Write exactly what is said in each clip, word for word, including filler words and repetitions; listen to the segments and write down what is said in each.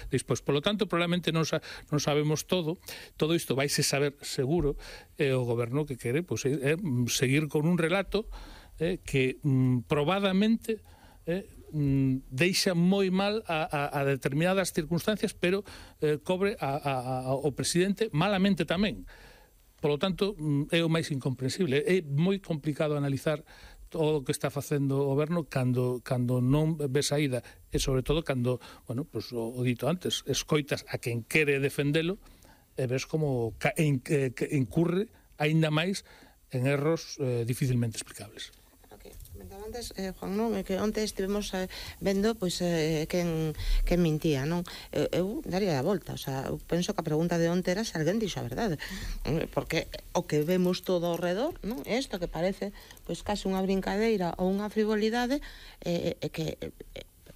despois. Por lo tanto, probablemente non, sa, non sabemos todo, todo isto vaise saber seguro, e eh, o goberno que quere pois, é, é seguir con un relato eh, que mm, probadamente eh, mm, deixa moi mal a, a, a determinadas circunstancias, pero eh, cobre a, a, a, ao presidente malamente tamén. Por lo tanto, mm, é o máis incomprensible. É moi complicado analizar todo o que está facendo o goberno cando, cando non ve saída, e sobre todo cando, bueno, pues, o, o dito antes, escoitas a quen quere defendelo e ves como en, que, que incurre aínda máis en erros eh, dificilmente explicables. Comentaba antes, eh, Juan, non? Que onte estivemos eh, vendo pois, eh, quen, quen mintía, non? Eu, eu daría a volta, o sea, eu penso que a pregunta de onte era se alguén dixo a verdade, porque o que vemos todo ao redor, non? Isto que parece pois case unha brincadeira ou unha frivolidade, eh, eh, que eh,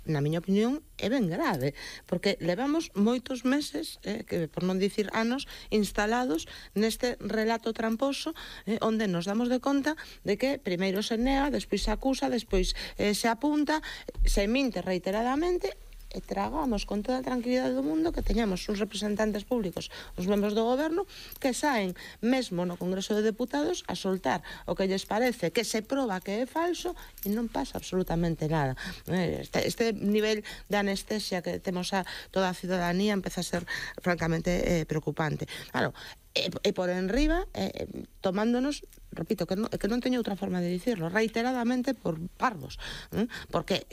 na miña opinión, é ben grave, porque levamos moitos meses, eh, que por non dicir anos, instalados neste relato tramposo, eh, onde nos damos de conta de que primeiro se nega, despois se acusa, despois eh, se apunta, se minte reiteradamente, e tragamos con toda a tranquilidade do mundo que teñamos uns representantes públicos, os membros do goberno, que saen mesmo no Congreso de Deputados a soltar o que lles parece, que se proba que é falso, e non pasa absolutamente nada. Este, este nivel de anestesia que temos a toda a ciudadanía empeza a ser francamente eh, preocupante. Claro, e, e por enriba, eh, tomándonos, repito, que non, que non teño outra forma de dicirlo, reiteradamente por parvos, eh? Porque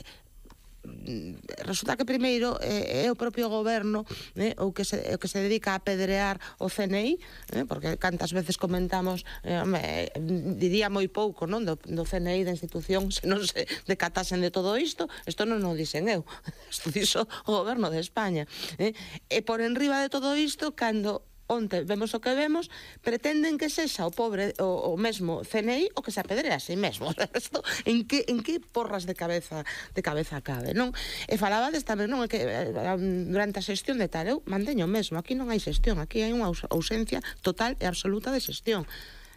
resulta que primeiro eh, é o propio goberno eh, o, que se, o que se dedica a apedrear o C N I, eh, porque cantas veces comentamos, eh, me, diría moi pouco, non, do, do C N I, da institución, se non se decatasen de todo isto. Isto non o dixen eu, isto dixo o goberno de España, eh. E por enriba de todo isto, cando onte vemos o que vemos, pretenden que sexa o pobre, o, o mesmo C N I o que se apedrea a si mesmo. Esto, en que en que porras de cabeza de cabeza cabe, non? E falabades tamén, non, é que durante a xestión de tal, eu manteño mesmo, aquí non hai xestión, aquí hai unha ausencia total e absoluta de xestión.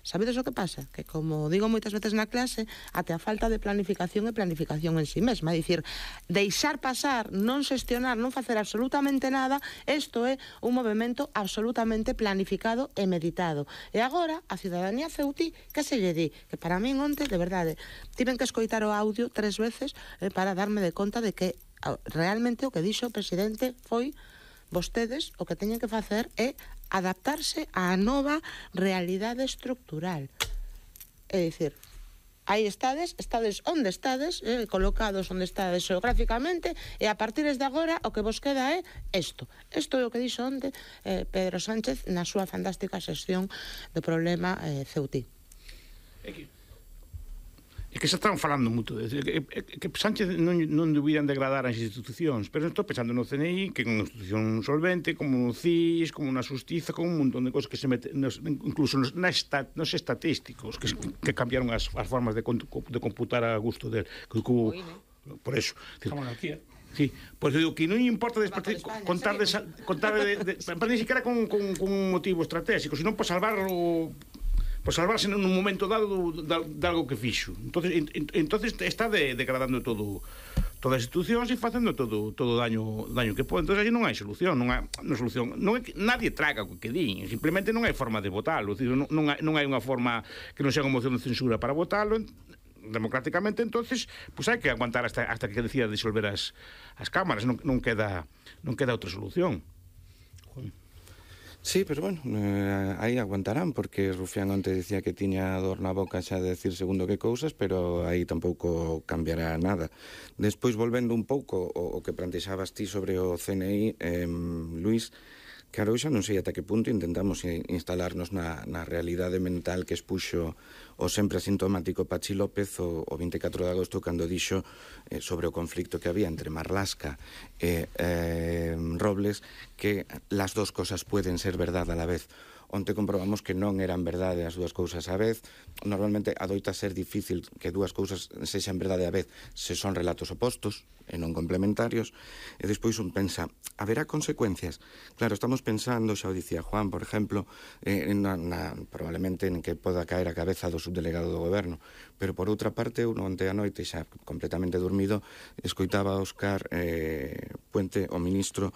Sabedes o que pasa? Que, como digo moitas veces na clase, até a falta de planificación e planificación en sí mesma. É dicir, deixar pasar, non xestionar, non facer absolutamente nada, isto é un movimento absolutamente planificado e meditado. E agora, a ciudadanía ceutí, que se lle di? Que para min onte, de verdade, tiven que escoitar o audio tres veces eh, para darme de conta de que realmente o que dixo o presidente foi: vostedes o que teñen que facer é adaptarse á nova realidade estructural. É dicir, aí estades, estades onde estades, eh, colocados onde estades geográficamente, e a partir de agora o que vos queda é isto. Isto é o que dixo onte eh, Pedro Sánchez na súa fantástica sesión do problema eh, ceutí. É que se están falando moito, é que, que Sánchez non, non deberían degradar as institucións, pero estou pensando no C N I, que é unha institución solvente, como o C I S, como na Xustiza, como un montón de cosas que se mete, nos, incluso nos, na estat, nos estatísticos, que, que cambiaron as, as formas de, de computar a gusto del, que, que, por eso. A monarquía. Sí, pois pues digo que non importa despartir, contar de, contar de, de, de, para ni siquiera con, con, con un motivo estratégico, senón para salvar o por salvarse nun momento dado de, de algo que fixo. Entonces, en, entonces está de, degradando todo, todas as institucións e facendo todo todo o daño daño que pode. Entonces, aí non hai solución, non hai, non solución. Non é que nadie traga o que din, simplemente non hai forma de votalo, non, non, hai, non hai unha forma que non sea unha moción de censura para votalo democráticamente. Entonces, pues hai que aguantar hasta hasta que decida disolver as as cámaras, non, non queda non queda outra solución. Sí, pero bueno, eh, aí aguantarán, porque Rufián onte dicía que tiña dor na boca xa de decir segundo que cousas, pero aí tampouco cambiará nada. Despois, volvendo un pouco o, o que plantexabas ti sobre o C N I, eh, Luís, claro, eu xa non sei ata que punto intentamos instalarnos na, na realidade mental que expuxo o sempre asintomático Pachi López o, o vinte e catro de agosto, cando dixo eh, sobre o conflicto que había entre Marlaska e eh, Robles, que las dos cosas pueden ser verdad a la vez. onte comprobamos que non eran verdade as dúas cousas á vez. Normalmente adoita ser difícil que dúas cousas sexan verdade á vez se son relatos opostos e non complementarios, e despois un pensa, haberá consecuencias? Claro, estamos pensando, xa o dicía Juan, por exemplo, eh, na, na, probablemente en que poda caer a cabeza do subdelegado do goberno, pero por outra parte, eu onte a noite, xa completamente dormido, escoitaba a Óscar eh, Puente, o ministro,